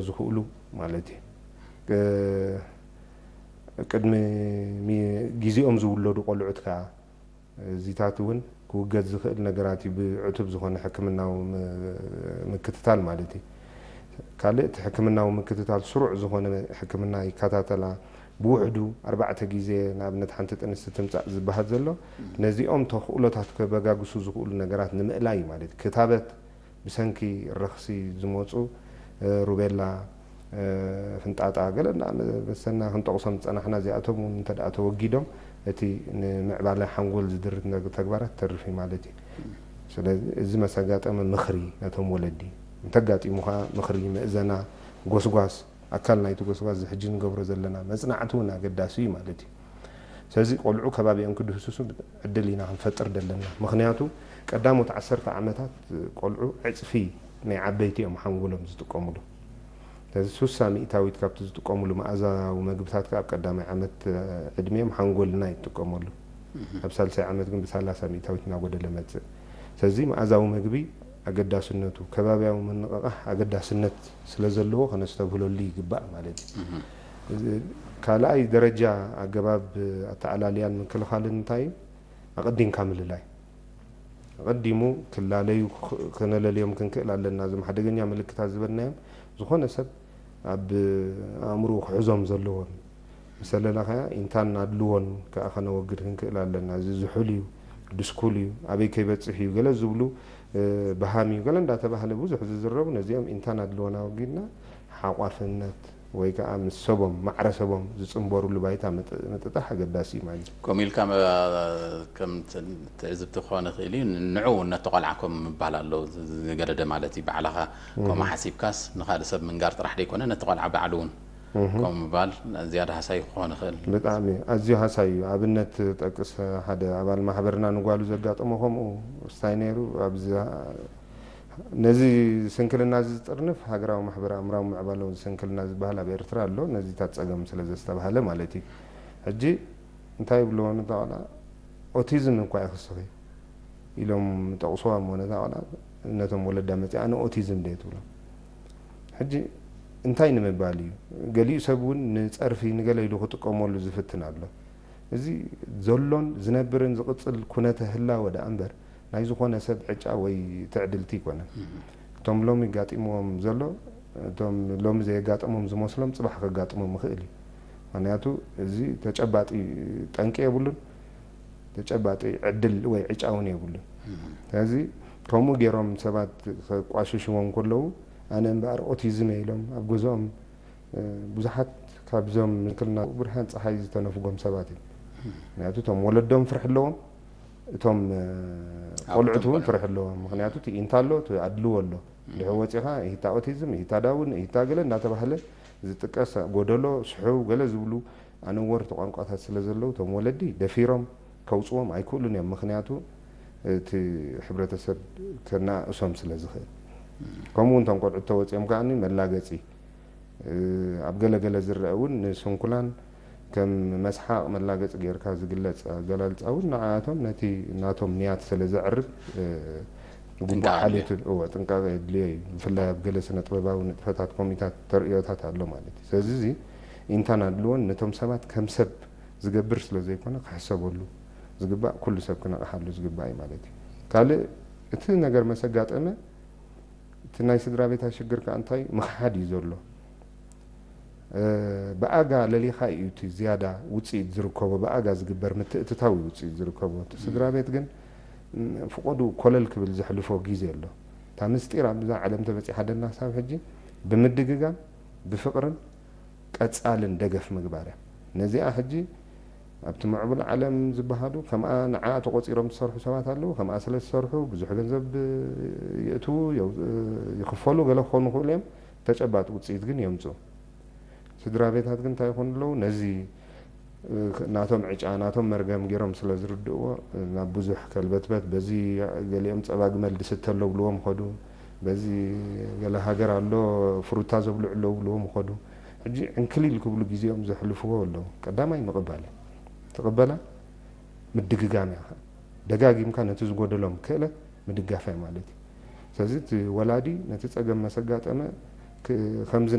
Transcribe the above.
ዝኽእሉ ማለት እዩ። እ፣ ቅድሚ ሚ-፣ ግዜኦም ዝውለዱ ቆልዑት ከኣ እዚታት እውን ክውገድ ዝኽእል ነገራት እዩ፣ ብዕቱብ ዝኾነ ሕክምናዊ ም-፣ ምክትታል ማለት እዩ። ካልእ እቲ ሕክምናዊ ምክትታል ስሩዕ ዝኾነ ሕክምና ይከታተላ። ብውሕዱ ኣርባዕተ ግዜ ንኣብነት ሓንቲ ጥንስቲ ትምጻእ ዝበሃል ዘሎ፣ ነዚኦም ተኽእሎታት ከበጋግሱ ዝኽእሉ ነገራት ንምእላይ ማለት እዩ። ክታበት ብሰንኪ ረኽሲ ዝመጹ፣ እ፣ ሩቤላ፣ እ፣ ፍንጣጣ፣ ገለ እንዳ መሰና ክንጠቕሶም ዝጸናሕና፣ እዚኣቶም እውን እንተ ደኣ ተወጊዶም፣ እቲ ንምዕባለ ሓንጎል ዝድርት ነግ-፣ ተግባራት ተርፍ እዩ ማለት እዩ። ስለዚ እዚ መሰጋጠመ ምኽሪ ነቶም ወለዲ፣ እንተጋጢሙ ኸኣ ምኽሪ፣ ምእዘና፣ ጎስጓስ፣ ኣካል ናይቲ ጎስጓስ እዚ ሕጂ ንገብሮ ዘለና መጽናዕቲ እውን ኣገዳሲ እዩ ማለት እዩ። ስለዚ ቆልዑ ከባቢኦም ክድህስሱ ዕድል ኢና ክንፈጥር ዘለና። ምኽንያቱ ቀዳሞት ዓሰርተ ዓመታት ቆልዑ ዕጽፊ ናይ ዓበይቲ እዮም ሓንጎሎም ዝጥቀሙሉ። ስለዚ ሱሳ ሚእታዊት ካብቲ ዝጥቀሙሉ መኣዛዊ መግብታት ከኣ ኣብ ቀዳማይ ዓመት ዕድሜኦም ሓንጎልና ይጥቀመሉ። ኣብ ሳልሳይ ዓመት ግን ብሰላሳ ሚእታዊት እናጎደለ መጽእ። ስለዚ መኣዛዊ መግቢ ኣገዳስነቱ፣ ከባብያዊ ምንቕቓሕ ኣገዳስነት ስለ ዘለዎ ከነስተብህለሉ ይግባእ ማለት እዩ። እዚ ካልኣይ ደረጃ ኣገባብ ኣተኣላልያን ምክልኻልን እንታይ እዩ? ኣቐዲምካ ምልላይ። ኣቐዲሙ ክላለዩ ክ-፣ ከነለልዮም ክንክእል ኣለና። እዞም ሓደገኛ ምልክታት ዝበልናዮም፣ ዝኾነ ሰብ ኣብ ኣእምሮኡ ክሕዞም ዘለዎን፣ ምስ ኣለና ከኣ ኢንታን ኣድልዎን ከኣ ከነወግድ ክንክእል ኣለና። እዚ ዝሑል እዩ፣ ድስኩል እዩ፣ ኣበይ ከይበጽሕ እዩ፣ ገለ ዝብሉ፣ እ፣ በሃም እዩ፣ ገለ እንዳተባህለ ብዙሕ ዝዝረቡ፣ ነዚኦም ኢንታን ኣድልዎን ኣወጊድና፣ ሓቋፍነት ወይ ከኣ ምስ ሰቦም፣ ማዕረ ሰቦም ዝጽንበሩሉ ባይታ ምጥ-፣ ምጥጣሕ ኣገዳሲ እዩ ማለት እዩ። ከምኡ ኢልካ መ-፣ ከም ት-፣ ትዕዝብቲ ክኾን ይኽእል እዩ። ንዑ እውን ነቲ ቆልዓ ከም ምባል ኣሎ፣ ዝ-፣ ዝገደደ ማለት እዩ። ባዕልኻ ከምኡ ሓሲብካስ ንኻልእ ሰብ ምንጋር ጥራሕ ደይኮነ፣ ነቲ ቆልዓ ባዕሉ እውን ከም ምባል ዝያዳ ሃሳይ ክኾን ይኽእል። ብጣዕሚ ኣዝዩ ሃሳይ እዩ። ኣብነት ጠቅስ፣ ሓደ ኣባል ማሕበርና ንጓሉ ዘጋጠሞ ከምኡ ስታይ ነይሩ። ኣብዚ ነዚ ስንክልና እዚ ዝጥርንፍ ሃገራዊ ማሕበር ኣእምራዊ ምዕባለውን ስንክልና ዝበሃል ኣብ ኤርትራ ኣሎ። ነዚታት ጸገም ስለ ዘስተብሃለ ማለት እዩ። ሕጂ እንታይ ይብልዎ ነታ ቆልዓ? ኦቲዝም እኳ ይኽስኺ ኢሎም ጠቕስዋ እሞ ነታ ቆልዓ ነቶም ወለዳ መጺኣ ኣነ ኦቲዝም ድየ ትብሎ። ሕጂ እንታይ ንምባል እዩ? ገሊኡ ሰብ እውን ንጸርፊ ንገለ ኢሉ ክጥቀመሉ ዝፍትን ኣሎ። እዚ ዘሎን ዝነብርን ዝቕጽል ኩነተ ህላወ ደኣ እምበር ናይ ዝኾነ ሰብ ዕጫ ወይ ትዕድልቲ ኣይኮነን። እቶም ሎሚ ጋጢምዎም ዘሎ፣ እቶም ሎሚ ዘየጋጠሞም ዝመስሎም ጽባሕ ከጋጥሞም ይኽእል እዩ። ምኽንያቱ እዚ ተጨባጢ ጠንቂ የብሉን፣ ተጨባጢ ዕድል ወይ ዕጫ እውን የብሉን። ስለዚ ከምኡ ገይሮም ሰባት ከቋሽሽዎም ከለዉ ኣነ እምበኣር ኦቲዝም እየ ኢሎም ኣብ ገዝኦም፣ እ፣ ብዙሓት ካብዞም ምክልና ብርሃን ጸሓይ ዝተነፍጎም ሰባት እዮም። ምክንያቱ እቶም ወለዶም ፍርሒ ኣለዎም፣ እቶም፣ እ፣ ኣቦ ቆልዑት እውን ቆልዑ። ፍርሒ ኣለዎም። ምክንያቱ እቲ ኢንታ ኣሎ፣ እቲ ኣድልዎ ኣሎ። ድሕሪ ወጺኻ ኢሂታ ኦቲዝም፣ ኢሂታ ዳውን፣ ኢሂታ ገለ እናተባህለ ዝጥቀስ ጎደሎ፣ ስሑው ገለ ዝብሉ ኣነወርቲ ቋንቋታት ስለ ዘለዉ፣ እቶም ወለዲ ደፊሮም ከውጽዎም ኣይክእሉን እዮም። ምክንያቱ እቲ ሕብረተሰብ ከናእሶም ስለ ዝኽእል። ከምኡ እውን እቶም ቆልዑት ተወጺኦም ከኣ መላገጺ፣ እ፣ ኣብ ገለ ገለ ዝረአ እውን ንስንኩላን ከም መስሓቕ መላገጺ ጌርካ ዝግለጽ ኣገላልጻ እውን ንዓኣቶም ነቲ ናቶም ንያት ስለ ዘዕርብ፣ እ፣ ግቡእ ጥንቃቐ ሓልዮት፣ እወ፣ ጥንቃቐ የድልዮ እዩ። ብፍላይ ኣብ ገለ ስነ ጥበባዊ ንጥፈታት ከምኡታት ተርእዮታት ኣሎ ማለት እዩ። ስለዚ እዚ ኢንታን ኣድልዎን ነቶም ሰባት ከም ሰብ ዝገብር ስለ ዘይኮነ ክሕሰበሉ ዝግባእ፣ ኩሉ ሰብ ክነቕሓሉ ዝግባእ እዩ ማለት እዩ። ካልእ እቲ ነገር መሰጋጠመ እቲ ናይ ስድራ ቤታ ሽግር ከኣ እንታይ ምኽሓድ እዩ ዘሎ። እ፣ ብኣጋ ለሊኻ እዩ እቲ ዝያዳ ውጽኢት ዝርከቦ፣ ብኣጋ ዝግበር ምትእትታው እዩ ውጽኢት ዝርከቦ። እቲ ስድራ ቤት ግን፣ ም፣ ፍቆዱ ኮለል ክብል ዘሕልፎ ግዜ ኣሎ። እታ ምስጢር ኣብዛ ዓለም ተበጺሓ ደላ ክሳብ ሕጂ ብምድግጋም፣ ብፍቕርን ቀጻልን ደገፍ ምግባር እያ። ነዚኣ ሕጂ ኣብቲ ምዕቡል ዓለም ዝበሃሉ ከምኣ ንዓ ተቆጺሮም ዝሰርሑ ሰባት ኣለዉ። ከምኣ ስለ ዝሰርሑ ብዙሕ ገንዘብ የእትዉ፣ የው-፣ ይኽፈሉ፣ ገለ ክኾኑ ይኽእሉ እዮም። ተጨባጢ ውጽኢት ግን የምጽኡ። ስድራ ቤታት ግን እንታይ ይኾኑ ኣለዉ? ነዚ፣ እ፣ ናቶም ዕጫ፣ ናቶም መርገም ገይሮም ስለ ዝርድእዎ፣ ናብ ብዙሕ ከልበትበት፣ በዚ ገሊኦም ጸባ ግመል ድስተ ኣሎ ብልዎም ኸዱ፣ በዚ ገለ ሃገር ኣሎ ፍሩታ ዘብልዑ ኣለዉ ብልዎም ኸዱ። ሕጂ ዕንክሊል ክብሉ ግዜኦም ዘሕልፍዎ ኣለዉ። ቀዳማይ ምቕባል እዩ። ትቕበላ፣ ምድግጋም እያ። ደጋጊምካ ነቲ ዝጎደሎም ክእለት ምድጋፍ እያ ማለት እዩ። ስለዚ እቲ ወላዲ ነቲ ጸገም መሰጋጠመ ክ-፣ ከምዚ